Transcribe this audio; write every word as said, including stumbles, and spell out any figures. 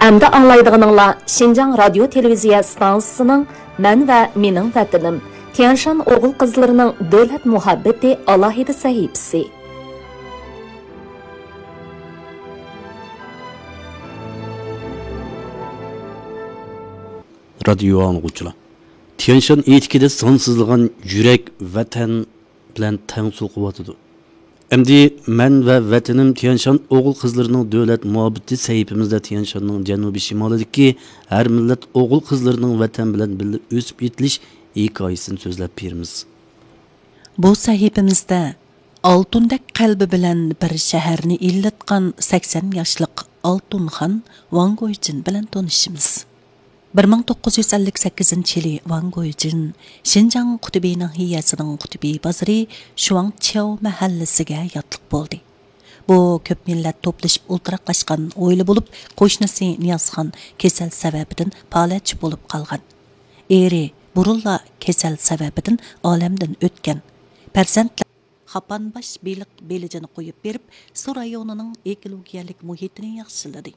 ئەمدى ئاڭلايدىغىنىڭلار شىنجاڭ رادىيو تېلېۋىزىيە ئىستانسىسىنىڭ مەن ۋە مېنىڭ ۋەتىنىم، تيەنشان ئوغۇل قىزلىرىنىڭ دۆلەت مۇھەببىتى ئالاھىدە سەھىپىسى. رادىيو ئاڭلىغۇچىلار، تيەنشان ئېتىكىدە سانسىزلىغان يۈرەك ۋەتەن بىلەن تەڭ سوقۇۋاتىدۇ. ئەمدى مەن ۋە ۋەتىنىم تيەنشان ئوغۇل قىزلىرىنىڭ دۆلەت مۇھەببىتى سەھىپىمىزدە تيەنشاننىڭ جەنۇبىي شىمالىدىكى ھەر مىللەت ئوغۇل قىزلىرىنىڭ ۋەتەن بىلەن بىللە ئۆسۈپ يېتىلىش ھېكايىسىنى سۆزلەپ بېرىمىز. بۇ سەھىپىمىزدە ئالتۇندەك قەلبى بىلەن بىر شەھەرنى ئىللىتقان سەكسەن ياشلىق ئالتۇنخان ۋاڭ گويجىن بىلەن تونۇشىمىز. بىر مىڭ توققۇز يۈز ئەللىك سەككىزىنچى يىلى ۋاڭ گويجىن شىنجاڭ قۇتۇبى ناھىيەسىنىڭ قۇتۇبى بازىرى شۇاڭچياۋ مەھەللىسىگە ياتلىق بولدى. بۇ كۆپ مىللەت توپلىشىپ ئولتۇراقلاشقان ھويلا بولۇپ، قوشنىسى نىيازخان كېسەل سەۋەبىدىن پالەچ بولۇپ قالغان. ئېرى بۇرۇنلا كېسەل سەۋەبىدىن ئالەمدىن ئۆتكەن. پەرزەنتلەر خاپانباش بېلىق بېلىجىنى قويۇپ بېرىپ، سۇ رايونىنىڭ ئېكولوگىيەلىك مۇھىتىنى ياخشىلىدى.